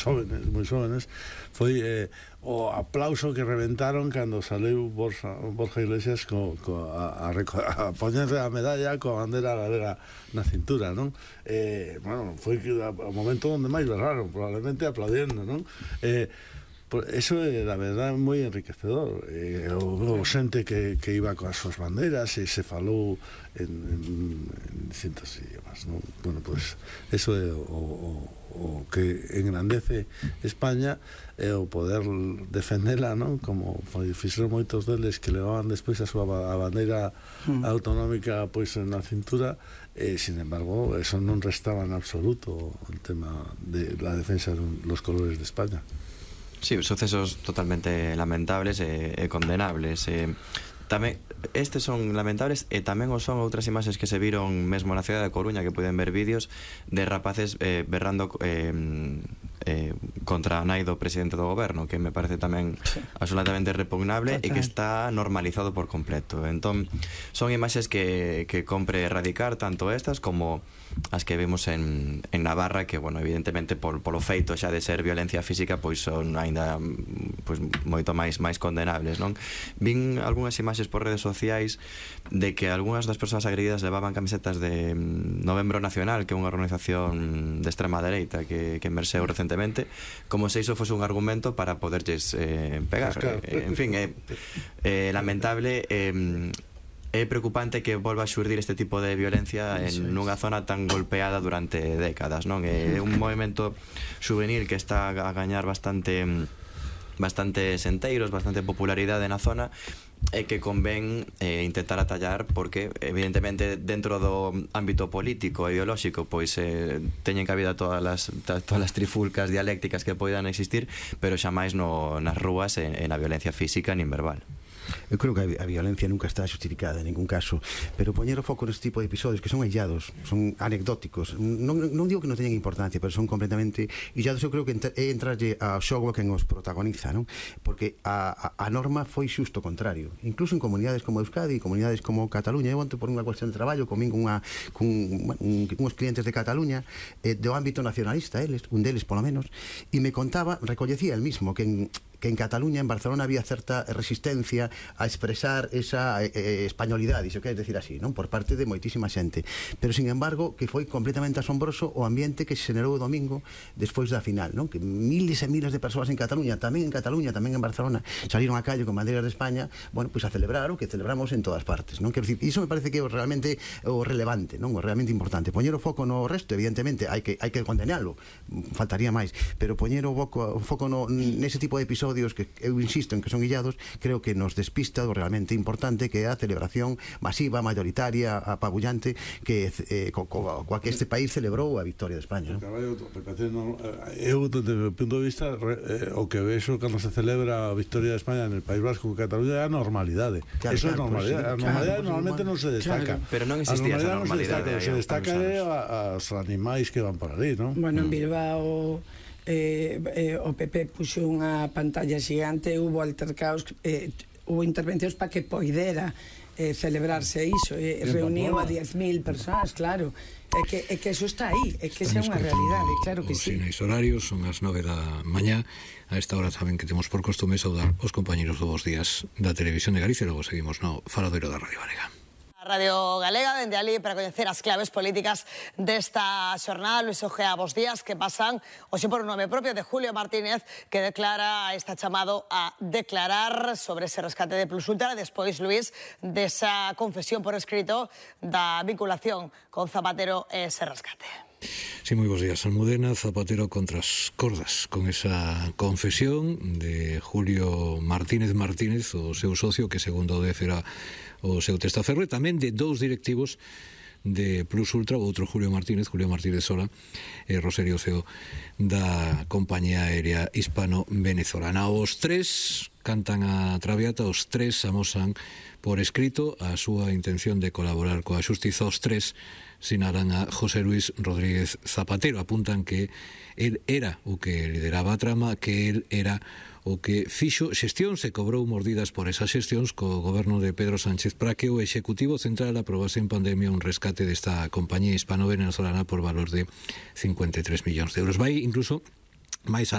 moi xóvenes, foi o aplauso que reventaron cando saleu Borja Iglesias a poñerse a medalla coa bandera galega na cintura, non? Bueno, foi o momento onde máis berraron, probablemente aplaudiendo, non? Eso é, la verdad, moi enriquecedor. O xente que iba coas súas bandeiras e se falou en distintos idiomas, non? Bueno, pues eso é o que engrandece España, é o poder defendela, non? Como fixeron moitos deles que levaban despois a súa bandeira autonómica pois na cintura, sin embargo, eso non restaba en absoluto el tema de la defensa de los colores de España. Sí, sucesos totalmente lamentables e condenables. Tamén estes son lamentables e tamén o son outras imaxes que se viron mesmo na cidade da Coruña, que poden ver vídeos de rapaces berrando contra a nai do presidente do goberno, que me parece tamén absolutamente repugnable e que está normalizado por completo. Entón, son imaxes que compre erradicar, tanto estas como as que vimos en Navarra, que, bueno, evidentemente polo feito xa de ser violencia física, pois son aínda moito máis condenables, non? Vin algunhas imaxes por redes sociais de que algunhas das persoas agredidas levaban camisetas de Novembro Nacional, que é unha organización de extrema dereita que emerxeu recentemente, como se iso fose un argumento para poderlles pegar. En fin, é lamentable. É preocupante que volva a xurdir este tipo de violencia en nunha zona tan golpeada durante décadas, non? É un movimento juvenil que está a gañar bastante senteiros, bastante popularidade na zona, e que convén intentar atallar, porque evidentemente dentro do ámbito político e ideolóxico pois teñen cabida todas as trifulcas dialécticas que poidan existir, pero xamais nas rúas e na violencia física nin verbal. Eu creo que a violencia nunca está justificada en ningún caso, pero poñer o foco neste tipo de episodios que son aillados, son anecdóticos, non digo que non teñen importancia, pero son completamente illados. Eu creo que é entrarlle ao xogo a quen os protagoniza, non? Porque a norma foi xusto o contrario, incluso en comunidades como Euskadi, comunidades como Cataluña. Eu onte por unha cuestión de traballo comín uns clientes de Cataluña, do ámbito nacionalista, un deles polo menos, e me contaba, recollecía el mismo, que en Cataluña, en Barcelona, había certa resistencia a expresar esa españolidade, iso quer decir así, non? Por parte de moitísima xente, pero sin embargo que foi completamente asombroso o ambiente que se generou o domingo despois da final, non? Que miles e miles de persoas en Cataluña, tamén en Barcelona, salieron á calle con bandeiras de España, bueno, pois a celebrar o que celebramos en todas partes, non? Quero dicir, iso me parece que é realmente o relevante, non? O realmente importante. Poñer o foco no resto, evidentemente, hai que condenalo, faltaría máis, pero poñer o foco nese tipo de episodios que eu insisto en que son illados, creo que nos despista do realmente importante, que é a celebración masiva, mayoritaria, apabullante coa que este país celebrou a victoria de España. Eu, desde o punto de vista, o que vexo cando se celebra a victoria de España en el País Vasco, Cataluña, é a normalidade. Eso é normalidade. A normalidade normalmente non se destaca. Pero non existía esa normalidade. Se destaca os animais que van por ali, non? Bueno, en Bilbao o PP puxo unha pantalla xigante, hubo altercaos, hubo intervencións para que poidera celebrarse iso, reuniu a 10.000 persoas, claro, é que eso está aí, é que esa é unha realidade, claro que sí. Os horarios son as 9 da mañá. A esta hora saben que temos por costume saudar os compañeros do Bos Días da Televisión de Galicia, e logo seguimos no Faladoiro da Radio Galega. A Radio Galega, dende ali, para coñecer as claves políticas desta xornada. Luis Ojea, bos días, que pasan hoxe por un nome propio de Julio Martínez, que está chamado a declarar sobre ese rescate de Plus Ultra, despois, Luis, desa confesión por escrito da vinculación con Zapatero e ese rescate. Sí, moi bons días. Almudena, Zapatero contra as cordas, con esa confesión de Julio Martínez, o seu socio, que segundo o DF era o seu testaferro, e tamén de dous directivos de Plus Ultra, o outro Julio Martínez Sola, e Rosario CEO da compañía aérea hispano-venezolana. Os tres cantan a traviata, os tres amosan por escrito a súa intención de colaborar coa xustiza. Os tres sinalan a José Luis Rodríguez Zapatero, apuntan que el era o que lideraba a trama, que el era o que fixo xestións e cobrou mordidas por esas xestións co goberno de Pedro Sánchez para que o Executivo Central aprobase en pandemia un rescate desta compañía hispano-venezolana por valor de 53 millóns de euros. Vai incluso máis